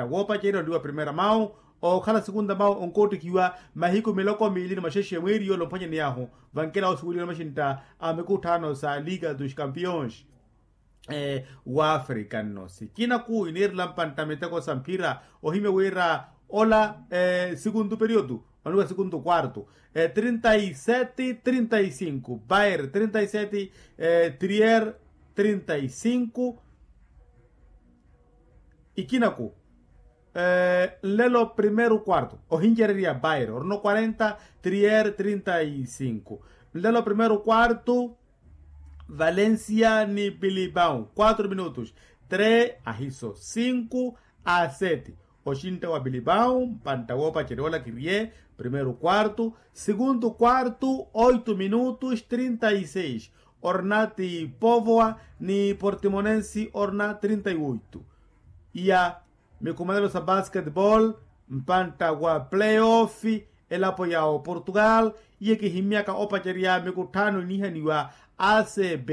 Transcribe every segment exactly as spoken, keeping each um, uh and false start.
mpantta woopacerya oliwa primeira mau, okhala segunda mau onkoottikhiwa mahiku miloko miili ni maxexe mweeri yoole omphwanyaniy'ahu. Vankela osuweliwa maxintta a mikutthaano sa liga dos campions w'afrika nno sikinaku iniirela mpantta miteko sa mphira. Ohimya wira ola sikuntu periodu, oniwa sikuntu quartu. Trinta y sete trinta y cinco bayer trinta y sete, trier trinta y cinco. Ikinaku nlelo primeiro quarto ohincererya bayer orino quarenta, trier trinta y cinco. Nlelo primeiro quarto valencia ni bilibao quatro minutos, três ahiso cinco a sete. Oxintta wa bilibao mpantta woopacerya ola kiriye primeiro quarto, segundo quarto oito minutos trinta y seis. Orina ti povoa ni portimonense orina trinta y oito. Iya mikumanelo sa basketball mpantta wa playoff elapo ya oportugal. Iye kihimmyaka opacerya mikutthaano iniihaniwa acb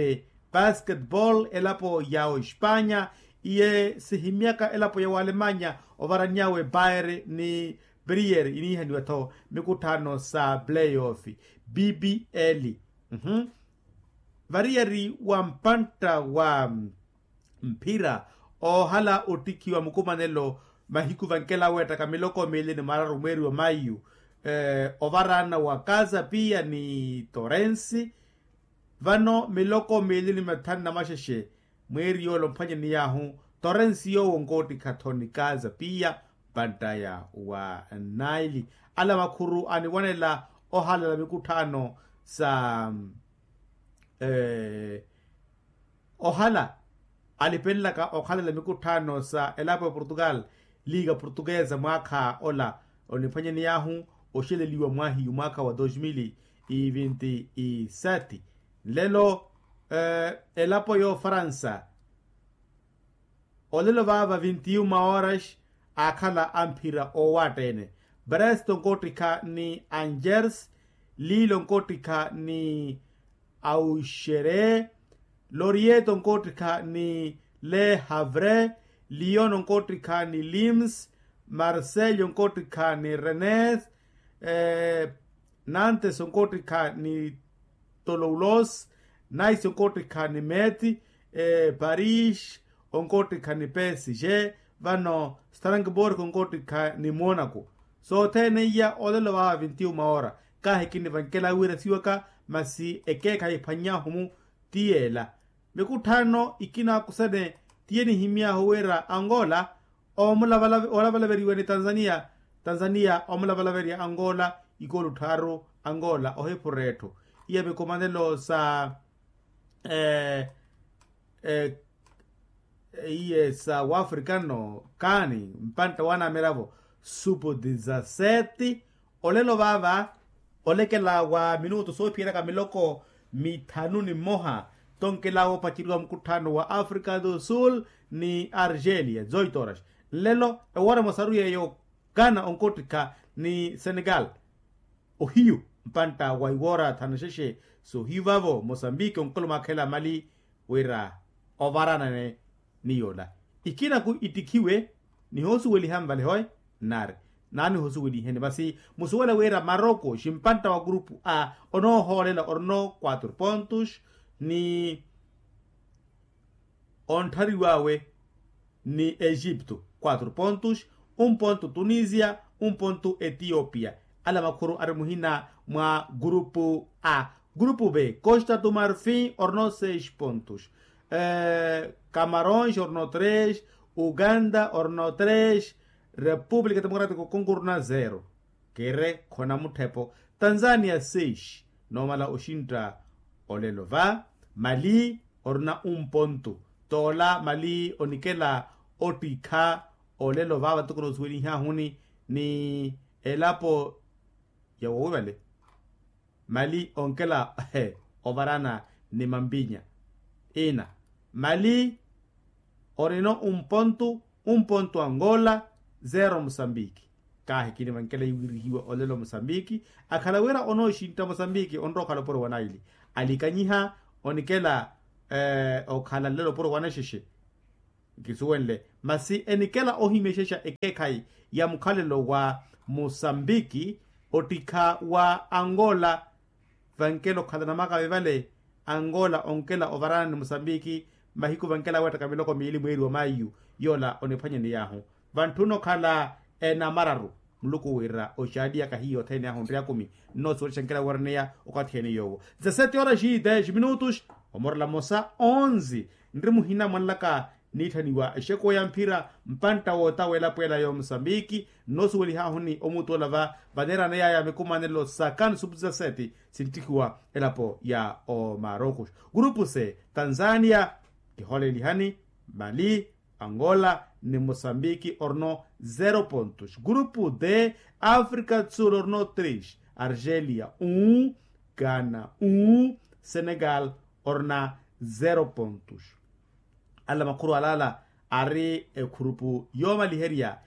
basketball elapo ya oespanya. Iye sihimmyaka elapo ya oalemanya ovaranny'awe bayer ni brier iniihaniwa-tho mikutthaano sa playoff bbl. Variyari wa mpantta wa mphira oohala ottikhiwa mukumanelo mahiku vankela weettaka miloko miili ni mararu mweeri wa maiyu. Ovaraana wa kaza piya ni torensi vano miloko miili ni mathanu na maxexe mweeri yoole omphwanyaniy'ahu. Torensi yoowo onkoottikha-tho ni kaza piya mpanttaya wa naili. Ala makhuru aniwanela ohalala mikutthaano sa ohala alipelelaka okhalela mikutthaano sa elapo ya portugal liga portuguesa mwaakha ola oniphwanyaniy'ahu oxeleliwa mwahiyu mwaakha wa dos mil e vinte e sete. Nlelo elapo ya ofaransa olelo vaava vinti uma horas aakhala amphira oowaatta-ene. Brest onkoottikha ni angers, lille onkoottikha ni auxerre, lorieto onkoottikha ni le havre, lyon onkoottikha ni lims, marseille onkoottikha ni rennes, nantes onkoottikha ni toloulos, nice onkoottikha ni meti, paris onkoottikha ni psg, vano strangborg onkoottikha ni monaco. Sothene iya olelo vaava vinti uma ora kaahikinivankela wira siwaka masi ekeekhayi phwannyahu-mu ti yeela. Mikutthaano ikina akusene ti enihimmy'ahu wira angola oomulavalaveriwa ni tanzania tanzania oomulavalaveriya angola ikoolu tthaaru angola ohipura etthu. Iya mikumanelo sa iye sa wafrikano kaani mpantta wanamiravo supu dizaseti. Olelo vaava olekela wa minutu soophiyeraka miloko mithanu ni mmoha tonkela woopaceriwa mukutthaano wa africa do sul ni argelia zoitoras. Nlelo ewoora emosaru yeeyo ghana onkoottikha ni senegal. Ohiyu mpantta wa iwoora thanu na xexe. Sohiyu vavo mosambiki onkolomwakhela mali wira ovaranane ni yoola ikinaku ittikhiwe. Nihoosuweliha nvale hoe nari naanihosuweliheni masi musuwela wira maroko ximpantta wa grupu a onoohoolela orino quatro pontos ni ontthariw'awe ni egipto quatro pontos, un ponto tunisia, un ponto etiopia. Ala makhuru ari muhina mwa grupu a. Grupu b costa do marfin orino seis pontos, camarons orino tres, uganda orino tres, repúblika democratika okongo orino zero. Kire khona mutthepo tanzania seis. Noomala oxintta olelo va mali orina un ponto. Toola mali onikela ottikha olelo va vatukuna osuwelihaahuni ni elapo ya wowi vale. Mali onkela ovarana ni mampinya ina mali orino un ponto, un ponto angola, zero mosambiki. Kaahikini vankela iwirihiwa olelo mosambiki akhala wira onooxintta mosambiki onrowa okhala opuro wa naili alikanyiha onikela okhala nlelo opuro wa naxexe. nkisuwenle masi enikela ohimyexexa ekeekhayi ya mukhalelo wa musambiki ottikha wa angola. Vankela okhala namaka vevale angola onkela ovarana ni musambiki mahiku vankela weettaka miloko miili mweeri wa maiyu yoola oniphwanyaniy'ahu vantthuna okhala enamararu muluku wiira oxaaliyaka hiyo othene ahu nri akumi. Nnoosiwelixa nkela wooreneya okathi ene yoowo dezasete horas e dez minutos omorela mmosa onze nri muhina mwanlaka niitthaniwa exekuwa ya mphira mpantta woota w'elapo ela ya omusambiki. Nnoosiwelih'ahuni omuutu ola va vaneeraneya ya mikumanelo sa kansupu dezasete sinttikhiwa elapo ya omarokus. Gurupu se tanzania kihoolelihani mali angola ni mosambiki orno zero pontos. Gurupu de africa do sul orno tres argelia un ghana un senegal orna zero pontos. Ala makhuru alala ari ekhurupu yoomaliherya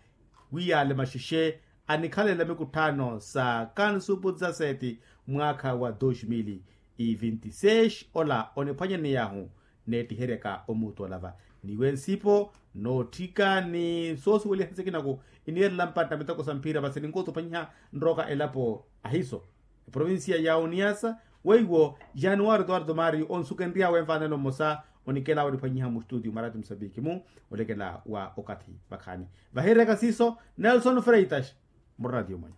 wi yaale maxexe anikhalela mikutthaano sa kansupu dezasete mwaakha wa dos mil e vinti seis ola oniphwanyaney'ahu neettiheryaka omuutu olava niwe nsipo nootthika ni soosuweliha sikinaku iniirela mpantta miteko sa mphira masi ninkuutupanyiha nrooka elapo ahiso eprovincia ya uniasa weiwo januwari eduardo mario onsukenry'awe mfaanelo mmosa onikela waniphwanyiha mustutio mwarati musambiki mu olekela wa okathi vakhaani vahiryaka siiso nelson freitas murratio mwenyu.